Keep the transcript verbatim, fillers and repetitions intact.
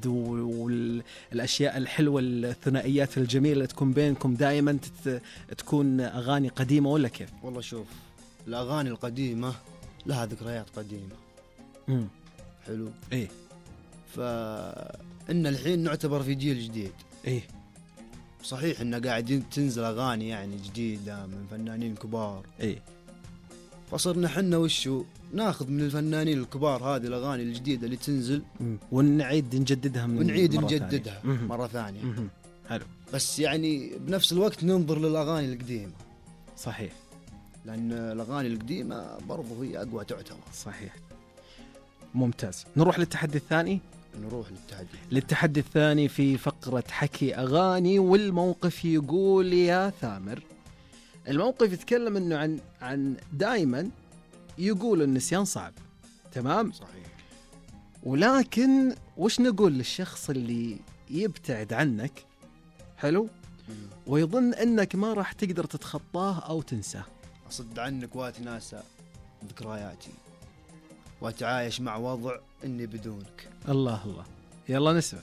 الود والأشياء الحلوة الثنائيات الجميلة اللي تكون بينكم دائما تكون أغاني قديمة ولا كيف؟ والله شوف، الأغاني القديمة لها ذكريات قديمة. مم. حلو. إيه. فإن الحين نعتبر في جيل جديد. إيه. صحيح إن قاعدين تنزل أغاني يعني جديدة من فنانين كبار. إيه. فصرنا حنا وشو ناخذ من الفنانين الكبار هذه الأغاني الجديدة اللي تنزل ونعيد نجددها من ونعيد مرة نجددها ثانية. مرة ثانية. مم. حلو. بس يعني بنفس الوقت ننظر للأغاني القديمة. صحيح. لأن الأغاني القديمة برضو هي أقوى تعتبر. صحيح. ممتاز. نروح للتحدي الثاني. نروح للتحدي للتحدي الثاني في فقرة حكي أغاني. والموقف يقول يا ثامر، الموقف يتكلم إنه عن عن دائما يقول النسيان صعب. تمام. صحيح. ولكن وش نقول للشخص اللي يبتعد عنك؟ حلو. مم. ويظن أنك ما راح تقدر تتخطاه أو تنساه. أصد عنك واتناسى ذكرياتي وأتعايش مع وضع إني بدونك. الله الله. يلا نسمع.